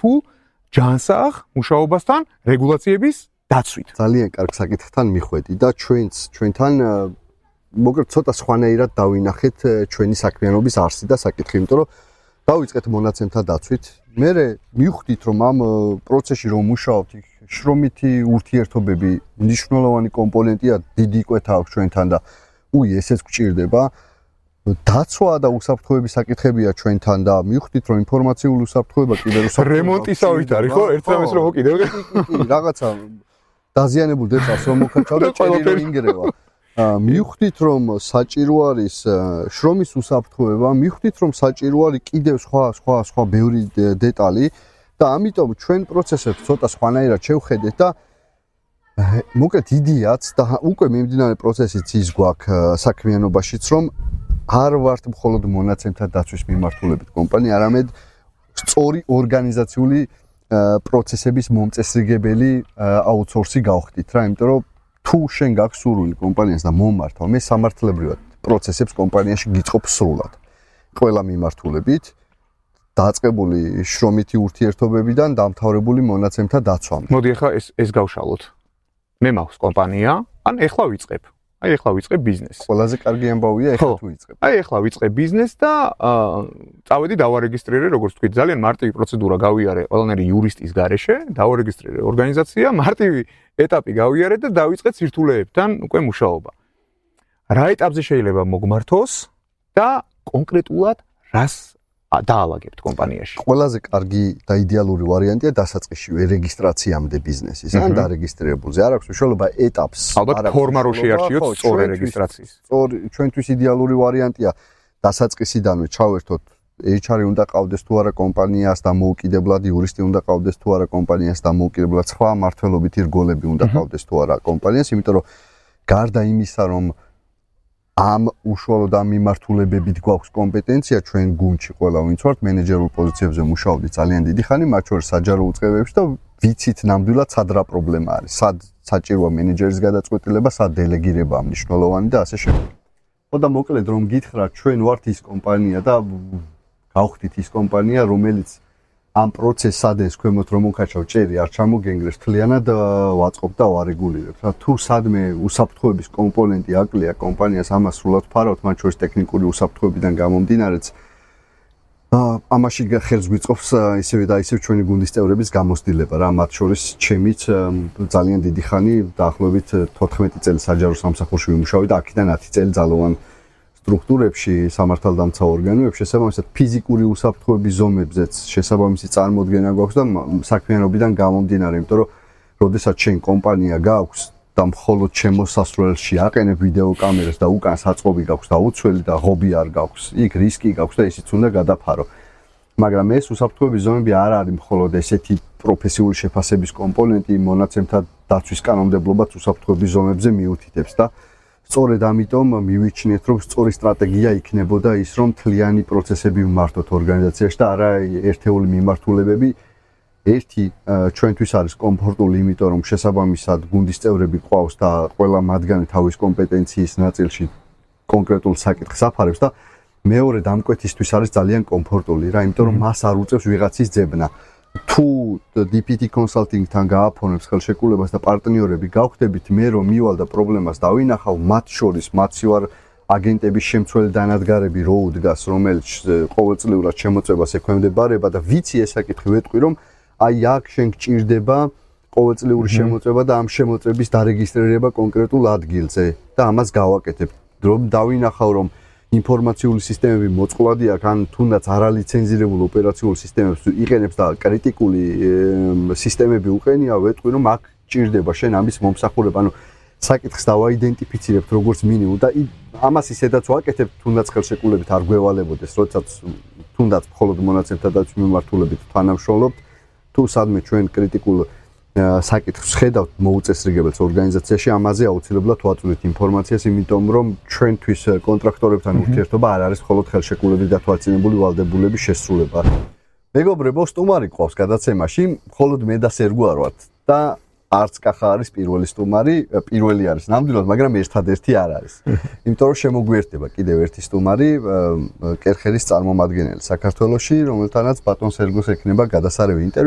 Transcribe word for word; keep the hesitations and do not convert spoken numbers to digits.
თუ ჯანსაღ მუშაობასთან რეგულაციების დაცვით. ძალიან კარგ საკითხთან მიხვედი და ჩვენც ჩვენთან მოკლედ ცოტა სხვანაირად დავინახეთ ჩვენი საქმიანობის არსი და საკითხი, იმიტომ რომ დავიწყეთ მონაცემთა დაცვით. მე მივხვდით რომ ამ პროცესში რომ მუშაობთ, შრომითი ურთიერთობები მნიშვნელოვანი კომპონენტია, დიდი კვეთა აქვს ჩვენთან და უი ესეც გვჭირდება. დაცვა და უსაფრთხოების საკითხებია ჩვენთან და მივხვდით რომ ინფორმაციული უსაფრთხოება კიდევ რემონტისავით არის ხო? ერთ რამეს რომ კიდევ რაღაცა დაზიანებულ დეტალს რომ მოკაჩავ და ჭერი რომ ინგრევა. მივხვდით რომ საჭირო არის შრომის უსაფრთხოება, მივხვდით რომ საჭირო არის კიდევ სხვა სხვა სხვა ბევრი დეტალი და ამიტომ ჩვენ პროცესებს ცოტა სხვანაირად შევხედეთ და მოკლედ იდეაც და უკვე მიმდინარე პროცესიც ის გვაქვს საქმიანობაშიც რომ არ ვართ მხოლოდ მონაცემთა დაცვის მიმართულებით კომპანია, არამედ სწორი ორგანიზაციული პროცესების მომწესრიგებელი აუთსორსი გავხდით რა, იმიტომ რომ თუ შენ გაქვს სურვილი კომპანიას და მომმართავ, მე სამართლებრივად პროცესებს კომპანიაში გიწყობ სრულად. ყველა მიმართულებით დაწყებული შრომითი ურთიერთობებიდან დამთავრებული მონაცემთა დაცვამდე. მოდი ახლა ეს ეს გავშალოთ. მე მაქვს კომპანია, ან ეხლა ვიწყებ. აი ეხლა ვიწყებ ბიზნესს. ყველაზე კარგი ამბავია ეხლა თუ ვიწყებ. აი ეხლა ვიწყებ ბიზნესს და წავედი დავარეგისტრირე, როგორც თქვი, ძალიან მარტივი პროცედურა გავიარე ყველანაირი იურისტის გარეშე, დავარეგისტრირე ორგანიზაცია, მარტივი ეტაპი გავიარე და დავიწყე სირთულეებთან უკვე მუშაობა. რა ეტაპზე შეიძლება მოგმართოს და კონკრეტულად რას დაალაგებთ კომპანიაში? ყველაზე კარგი და იდეალური ვარიანტია დასაწყისშივე რეგისტრაციამდე ბიზნესის. ან დარეგისტრირებულზე არ აქვს მნიშვნელობა ეტაპს. ალბათ ფორმა რო შეარჩიოთ სწორი რეგისტრაციის. სწორი ჩვენთვის იდეალური ვარიანტია დასაწყისიდანვე ჩავერთოთ ეიჩ არ უნდა ყავდეს თუ არა კომპანიას და მოუკიდებლად იურისტი უნდა ყავდეს თუ არა კომპანიას და მოუკიდებლად სხვა მართლობითი რგოლები უნდა ყავდეს თუ არა კომპანიას, იმიტომ რომ გარდა იმისა რომ ამ უშუალოდ ამ მიმართულებებით გვაქვს კომპეტენცია ჩვენ გუნდში ყველა ვინც ვართ მენეჯერულ პოზიციებზე მუშაობდი ძალიან დიდი ხანი, მათ შორის საჯარო უწყებებში და ვიცით ნამდვილად სად რა პრობლემა არის, სად საჭიროა მენეჯერის გადაწყვეტილება, სად დელეგირება მნიშვნელოვანი და ასე შემდეგ. ხო და მოკლედ რომ გითხრათ, ჩვენ ვართ ის კომპანია და გავხდით ის კომპანია, რომელიც ამ პროცესს სადენს ქვემოთ რომ მოკაჩავ ჭერი არ ჩამოგენგრეს, თლიანად ვაწყობ და ვარეგულირებ. თუ სადმე უსაფრთხოების კომპონენტი აკლია კომპანიას, ამას სრულად ფარავთ, მათ შორის ტექნიკური უსაფრთხოებიდან გამომდინარეც. ამაში ხელს გვიწყობს ისევე და ისევ ჩვენი გუნდის წევრების გამოცდილება რა, მათ შორის ჩემიც ძალიან დიდი ხანი, დაახლოებით თოთხმეტი წელი საჯარო სამსახურში ვიმუშავე და აქედან ათი წელი ძალოვან სტრუქტურებში, სამართალდამცავ ორგანოებში, შესაბამისად ფიზიკური უსაფრთხოების ზომებზეც შესაბამისი წარმოდგენა გვაქვს და საქმიანობიდან გამომდინარე, იმიტომ რომ როდესაც შენ კომპანია გაქვს და მხოლოდ შემოსასვლელში აყენებ ვიდეო კამერას და უკან საწყობი გაქვს და უცველი და ღობი არ გაქვს, იქ რისკი გაქვს და ისიც უნდა გადაფარო. მაგრამ ეს უსაფრთხოების ზომები არ არის მხოლოდ ესეთი პროფესიული შეფასების კომპონენტი, მონაცემთა დაცვის კანონმდებლობაც უსაფრთხოების ზომებზე მიუთითებს და სწორედ ამიტომ მივიჩნიეთ, რომ სწორი სტრატეგია იქნებოდა ის, რომ თლიანი პროცესები ვმართოთ ორგანიზაციაში და არა ერთეული მიმართულებები. ერთი ჩვენთვის არის კომფორტული, იმიტომ რომ შესაბამისად გუნდის წევრები ყავს და ყველა მათგანი თავის კომპეტენციის ნაწილში კონკრეტულ საკითხს აფარებს და მეორე დამკვეთისთვის არის ძალიან კომფორტული რა, იმიტომ რომ მას არ უწევს ვიღაცის ძებნა. თუ დი პი ტი კონსალტინგთან გააფორმებს ხელშეკრულებას და პარტნიორები გავხდებით, მე რომ მივალ და პრობლემას დავინახავ, მათ შორის მათი ვარ აგენტების შემცველი დანადგარები რო უდგას, რომელიც ყოველწლიურად შემოწმებას ექვემდებარება და ვიცი ეს საკითხი ვეტყვი, რომ აი აქ შენ გჭირდება ყოველწლიური შემოწმება და ამ შემოწმების დარეგისტრირება კონკრეტულ ადგილზე და ამას გავაკეთებ. რომ დავინახავ, რომ ინფორმაციული სისტემები მოწყვლადი აქვს, ან თუნდაც არალიცენზირებულ ოპერაციულ სისტემებს იყენებს და კრიტიკული სისტემები უყენია, ვეტყვი, რომ აქ გჭირდება შენ ამის მომსახურება. ანუ საკითხს დავაიდენტიფიცირებთ როგორც მინიმუმ და ამას ისედაც ვაკეთებ, თუნდაც ხელშეკრულებით არ გვევალებოდეს, როდესაც თუნდაც მხოლოდ მონაცემთა დაცვის მიმართულებით თანამშრომლობთ, თუ სადმე ჩვენ კრიტიკულ საკითხს ხედავთ მოუწესრიგებელს ორგანიზაციაში, ამაზე აუცილებლად ვაწვდით ინფორმაციას, იმიტომ რომ ჩვენთვის კონტრაქტორებთან ურთიერთობა არ არის მხოლოდ ხელშეკრულებით დათვალისწინებული ვალდებულების შესრულება. მეგობრებო, სტუმარი ყავს გადაცემაში, მხოლოდ მე და სერგო არ ვართ და არც კახა არის პირველი სტუმარი, პირველი არის ნამდვილად, მაგრამ ერთადერთი არ არის. იმიტომ რომ შემოგვიერთდება კიდევ ერთი სტუმარი, კერხერის წარმომადგენელი საქართველოში, რომელთანაც ბატონ სერგოს ექნება გადასარევი ინტერვიუ.